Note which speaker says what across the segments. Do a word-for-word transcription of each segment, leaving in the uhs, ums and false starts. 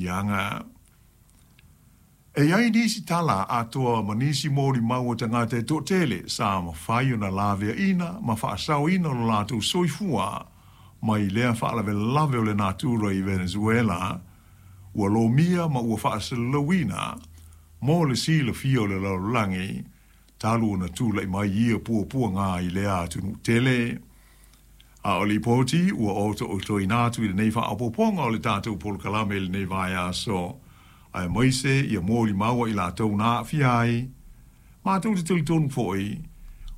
Speaker 1: aafiaga. E i ai nisi tala atoa ma nisi molimau a tagata e toatele sa mafai ona laveaina ma faasaoina lo latou soifua mai lea faalavelave o le natura i Venezuela, ua lomia ma ua faasalalauina mo le silafia o le lalolagi talu ona tula'i mai ia puapuaga i lea atunuu tele. A o lipoti ua oto'otoina atu i lenei faaopoopoga o le tatou polokalame i lenei vaiaso, aemaise ia molimau a i latou na aafia ai, matou te talitonu foi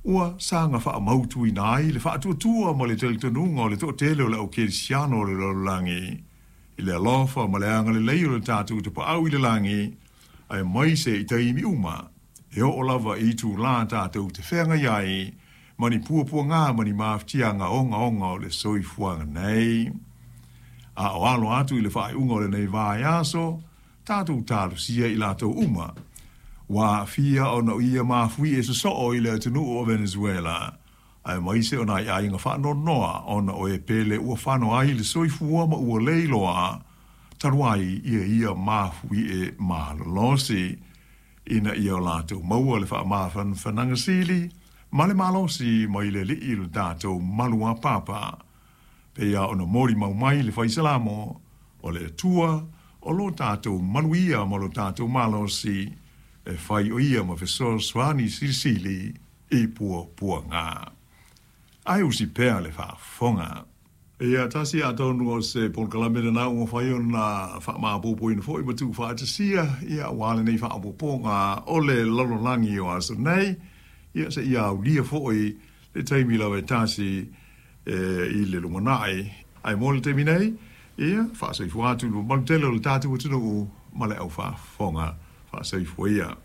Speaker 1: ua saga faamautuina ai le faatuatua ma le talitonuga o le toatele o le au kerisiano o le lalolagi i le alofa ma le agalelei o le tatou Tapaau i le lagi, aemaise i taimi uma e oo lava i itulā tatou te feagai ai ma ni puapuaga ma ni mafatiaga ogaoga o le soifuaga nei. A o alo atu i le faaiuga o lenei vaiaso, tatou talosia i latou uma ua aafia ona o ia mafuie sosoo i le atunuu o Venezuela, aemaise o nai aiga faanoanoa ona o e pele ua fano ai le soifua ma ua le iloa talu ai ia ia mafuie malolosi, ina ia o latou maua le faamafanafanaga sili ma le malosi mai le Alii lo tatou maluapapa, pei lava ona molimau mai le Fai Salamo, o le Atua o lo tatou maluia ma lo tatou malosi, e fai o ia ma fesoasoani silisili i puapuaga. Ae usi pea le faafofoga. Ia tasi atonu o se polokalame lena ua mafai ona faamaopoopoina foi ma tuufaatasia ia aua lenei faaopoopoga o le lalolagi o aso nei, ia seia aulia foi le taimi lava e tasi e, i le lumanai. Ae mo le taimi nei, ia faasoifua atu i le mamalu tele o le tatou atunuu ma le au faafofoga. Faasoifua ia.